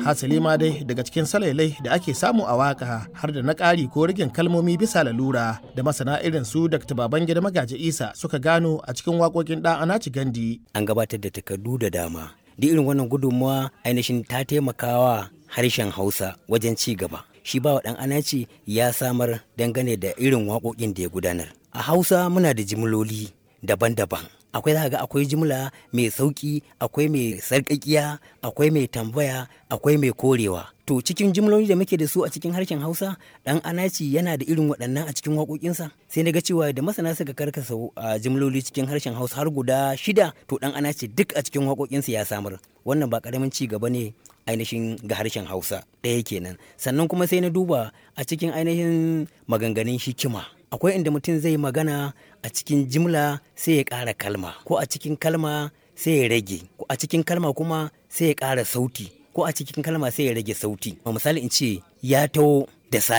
Hasali ma dai daga cikin salailai da ake samu a waka har da na ƙari ko rigin kalmomi bisa lalura da masana irin su Dr. Babangida Magaji Isa suka gano a cikin waƙoƙin ɗan Anaci Gandi. An gabatar da takardu da dama. Duk irin wannan gudunmuwa ainihin ta taimakawa harshen Hausa wajen ci gaba. Shi ba ɗan Anaci ya samar dangane da irin waƙoƙin da ya gudanar. A Hausa muna da jimloli daban-daban. Akwai za ga akwai jimla mai sauki, akwai mai sarƙaƙiya, akwai mai tambaya, akwai mai korewa. To cikin jimloli da muke da su a cikin harshen Hausa, ɗan Anaci yana da irin waɗannan a cikin waƙoƙinsa. Sai na ga cewa da masana suka karkasa a jimloli cikin harshen Hausa har guda 6, to ɗan Anaci duk a cikin waƙoƙinsa ya samar. Wannan ba ƙaramin ci gaba ne ainihin ga harshen Hausa, ɗaya kenan. Sannan kuma sai na duba a cikin ainihin maganganun hikima. Akwai inda mutum zai magana a cikin jimla sai ya ƙara kalma, ko a cikin kalma sai ya rage, ko a cikin kalma kuma sai ya ƙara sauti, ko a cikin kalma sai ya rage sauti. Misali in ce ya taho da safe.